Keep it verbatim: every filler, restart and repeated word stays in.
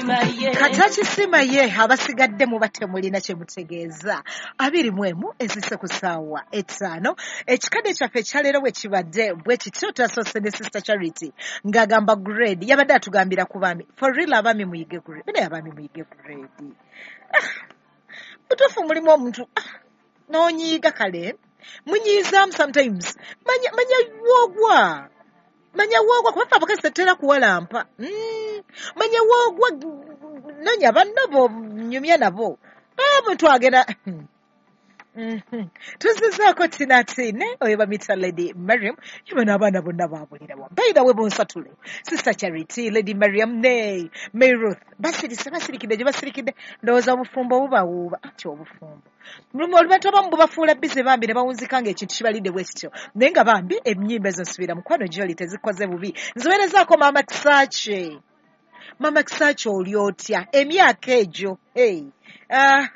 Katakisiima ye. Katakisiima ye. Abasigadde muba temulina kye mutegeeza. Abiri mu emu ezise ku ssaawa etaano. Ekikadde kyaffe ekyaleero bwe kibadde bwe kityo. Twasoose ne Sister Charity ng'agamba grade, yabadde atugambira ku baami. For real, abaami muyige grade, naye abaami muyige grade. Ah, butuufu mulimu omuntu, ah, n'onyiiga. Kale munyiizaamu sometimes. Manya, manya woogwa, manya woogwa, kuba ffe abakazi tetutera kuwalampa. Mm, manya woogwa, nonya banno bo nyumya nabo omuntu agenda. Mhm. Tuzizaako tinatine oyo bamita Lady Mariam yuba n'abaana bonna babulirawa. By the way, bonsatule, Sister Charity, Lady Mariam ne May Ruth basirise, basirikidde gye basirikidde. Ndowooza obufumbo bubawuuba ati obufumbo mulimu abantu abamu bubafuula bize bambi ne bawunzika ng'ekintu kibalidde bwe kityo, naye nga bambi ennyimba ezo nsubira mukwano gyoli tezikoze bubi. Nziweerezaako Maama Kisaache. Maama Kisaache, oli otya emyaka egyo? Hey. Ah.